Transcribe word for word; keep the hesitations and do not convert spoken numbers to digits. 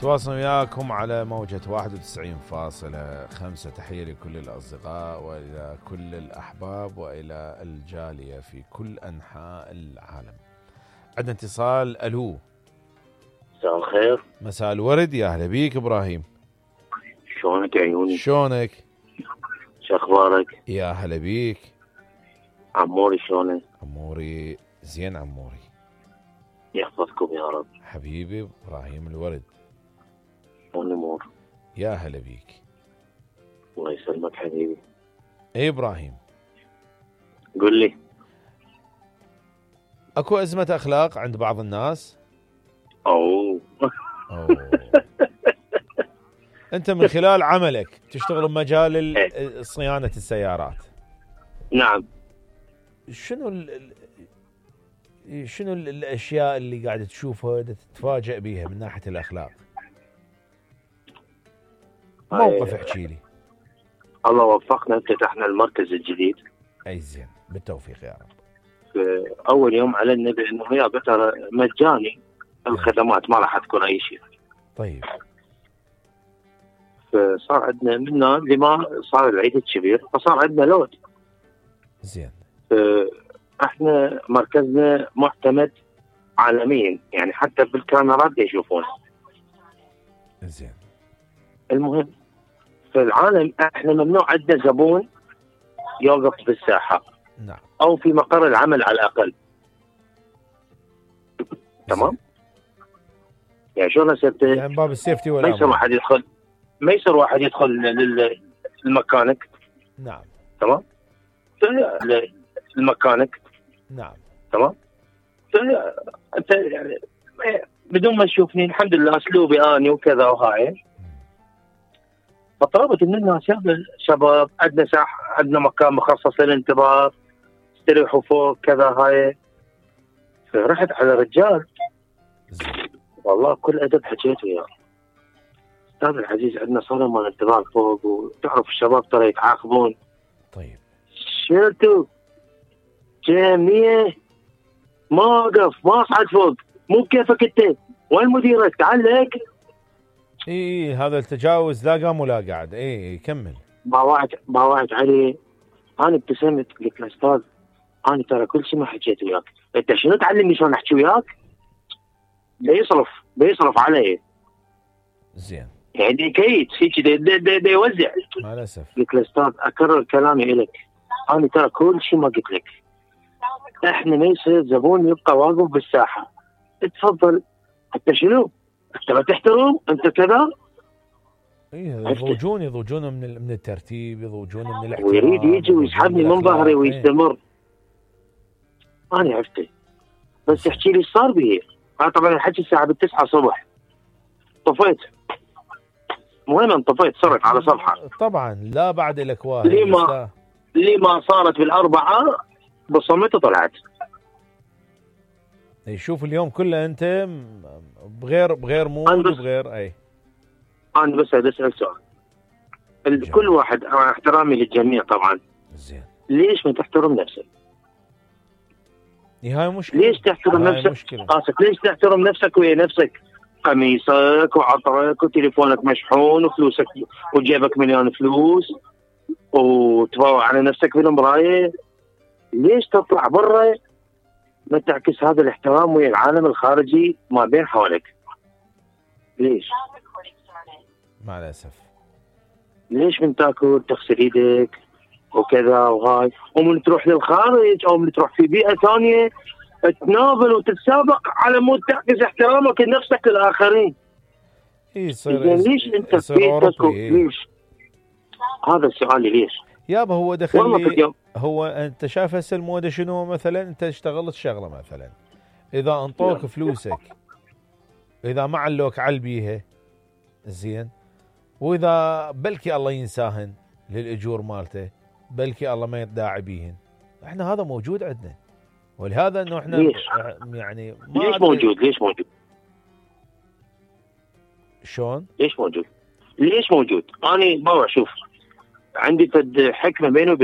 تواصل وياكم على موجة واحد وتسعين فاصلة خمسة. تحية لكل الأصدقاء وإلى كل الأحباب وإلى الجالية في كل أنحاء العالم. عندنا اتصال. ألو، مساء الخير. مساء الورد، يا أهلا بيك إبراهيم. شلونك عيوني؟ شلونك؟ شو أخبارك؟ يا هلا بيك. عموري شلونك؟ عموري زين. عموري يحفظكم يا رب. حبيبي إبراهيم الورد. شلون الأمور؟ يا هلا بيك. الله يسلمك حبيبي. ايه إبراهيم، قل لي. اكو أزمة أخلاق عند بعض الناس؟ أوه, أوه. أنت من خلال عملك تشتغل بمجال صيانة السيارات. نعم. شنو ال شنو الأشياء اللي قاعدة تشوفها تتفاجأ بيها من ناحية الأخلاق؟ موقف احكي لي. الله وفقنا، افتتحنا المركز الجديد. أي زين، بالتوفيق يا رب. في أول يوم أعلنا بأنه يا ترى مجاني الخدمات، ما راح تكون أي شيء. طيب. فصار عندنا منا لما صار العيد الكبير فصار عندنا لود. زين. احنا مركزنا معتمد عالميا، يعني حتى بالكاميرات يشوفونه. زين. المهم في العالم احنا ممنوع عندنا زبون يوقف بالساحه. نعم. او في مقر العمل على الاقل. تمام؟ يعني شلون هسه يعني باب السيفتي ولا ما يصير واحد يدخل ما يصير واحد يدخل للمكانك. نعم. تمام؟ المكانك. نعم. تمام؟ انت يعني بدون ما تشوفني الحمد لله اسلوبي اني وكذا وهاي. فطلبت من الناس يا شباب عندنا ساحه، عندنا مكان مخصص للانتظار، استريحوا فوق كذا هاي. فرحت على رجال والله كل ادب حكيت وياه. استاذ العزيز عندنا صاله مال انتظار فوق، وتعرف الشباب ترى يتعاقبون. طيب. شلتوا؟ جميع ما اوقف ما اصعد فوق، مو بكيفك انت، وين مديرك؟ تعال لك. اي هذا التجاوز لا قام ولا قعد. اي كمل. باوعت باوعت علي. انا ابتسمت قلت له استاذ انا ترى كل شيء ما حكيت وياك، انت شنو تعلمني شلون احكي وياك؟ بيصرف بيصرف علي. زين. يعني كيت هيك دي, دي, دي, دي يوزع. مع الاسف. قلت له استاذ اكرر كلامي الك، انا ترى كل شيء ما قلت لك. احنا ما يصير زبون يبقى واقف بالساحه. تفضل. انت شنو؟ انت ما تحترم؟ انت كذا؟ ايه يضوجون يضوجون من من الترتيب، يضوجون من الاحترام، ويريد يجي ويسحبني من ظهري ويستمر. ايه. انا عرفته بس احكي لي ايش صار بيه. انا طبعا الحكي الساعه بالتسعة الصبح طفيت. المهم انطفيت صرت على صفحه. طبعا لا بعد لك واحد. لما لما صارت بالاربعه بصمت وطلعت. يشوف اليوم كله انت بغير بغير مود وبغير. اي انا بس اسال سؤال. جميل. كل واحد مع احترامي للجميع طبعا. زين. ليش ما تحترم نفسك؟ هاي مشكله. ليش تحترم نفسك؟ قاسك ليش تحترم نفسك ويا نفسك؟ قميصك وعطرك وتليفونك مشحون وفلوسك وجيبك مليون فلوس وتفوق على نفسك بالمرايه. ليش تطلع برا ما تعكس هذا الاحترام ويا العالم الخارجي ما بين حولك؟ ليش؟ مع الاسف. ليش من تاكل تغسل ايدك وكذا وهاي، ومن تروح للخارج او من تروح في بيئه ثانيه تناظر وتتسابق على مود تعكس احترامك لنفسك للاخرين. اي يصير. ليش انت في بيتك؟ ليش؟ هذا سؤالي ليش؟ يابا هو دخل هو انت شايف هسه الموضه شنو؟ مثلا انت اشتغلت شغله مثلا، اذا انطوك فلوسك، اذا ما علوك على بيها زين، واذا بلكي الله ينساهن للاجور مالته، بلكي الله ما يداعي بيهن. احنا هذا موجود عندنا، ولهذا انه احنا ليش؟ يعني ما ليش موجود؟ ليش موجود؟ شلون؟ ليش موجود؟ ليش موجود؟ انا ما اشوف عندي فد حكمه بيني وبين